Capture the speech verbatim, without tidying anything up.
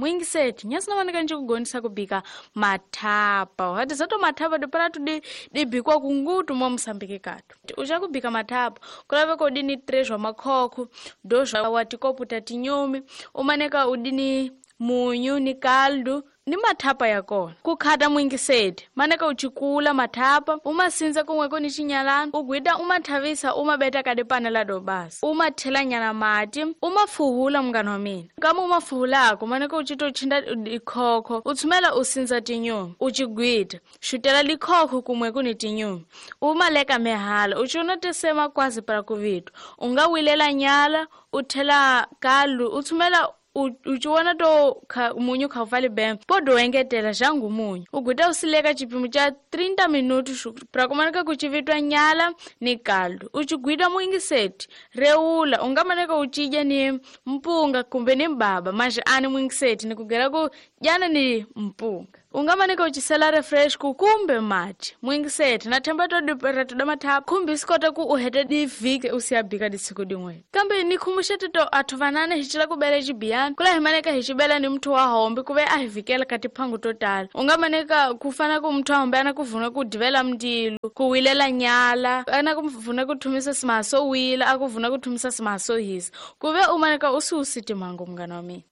Mwingiseti nyasi na maneka nje kugonisa kubika mathapa. Hati zato mathapa dipala tudi dibikwa kungutu mwa Msambiki katu. Uchakubika mathapa kulave kodini três wa makhokho, dois wa tikopu ta tinyumi, umaneka udini munyu ni kaldu ni mathapa yakona. Kukhata mwingiseti maneka uchikula mathapa umasinza kumweko ni chinyalana ugwida umathavisa umabeta kadi panela do basi umathela nyana mati umafuhula mngani wa mina kama umafuhulako maneka uchito uchinda ikhokho utsumela usinza tinyumi uchigwida xutela likhokho kumweko ni tinyumi umaleka mehala uchiona tisema kwazi para kuvitwa ungawilela nyala uthela kaldu utsumela uchiona to kha, munyu khaufali bem podo engetela jangu munyu uguta usileka chipimo cha trinta minutos pra kumaneka kuchivitwa nyala ni kaldu uchigwida mwingiseti reula ungamaneka uchidya ni mpunga kumbe ni mbaba manje ani mwingiseti nikugera ku jana ni mpunga ungamaneka uchisela refresh kukumbe mati mwingiseti nathemba todipera mathapa khumbi sikota ku uhete divike usiyabika disiku dimwe kambe nikhumushe tito athu vanane hichila kubela chibiyani kula himaneka hichibela ni mthu wa hombe kuve ahivikela kati phangu totala ungamaneka kufana ku mthu wa hombe ana kuvuna kudivela mndilu kuwilela nyala ana kuvuna kuthumisa simaso wila akuvuna kuthumisa simaso hisa kuve umaneka usiusiti mhango mngani wa mina.